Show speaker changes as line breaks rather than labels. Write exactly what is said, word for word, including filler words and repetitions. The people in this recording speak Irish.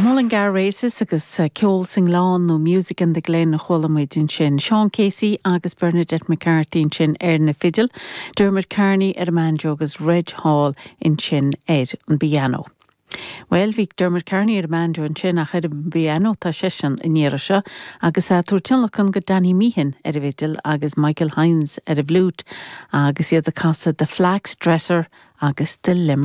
Mullingar Races agus ceol sa ngleann nó Music in the Glen a chuala muid ansin. Sean Casey agus Bernadette McCarthy ansin ar na fidil, Dermot Kearney ar an mbanjo agus Reg Hall ansin ar an bpianó. Well bhí Dermot Kearney ar an mbanjo ansin ach ar an bpianó tá seisean an iarraidh seo agus a tabhairt tionlacan go Danny Meehan ar an bhfidil agus Michael Hines ar an bhfliúit agus iad ag casadh The Flax Dresser agus The Limerick.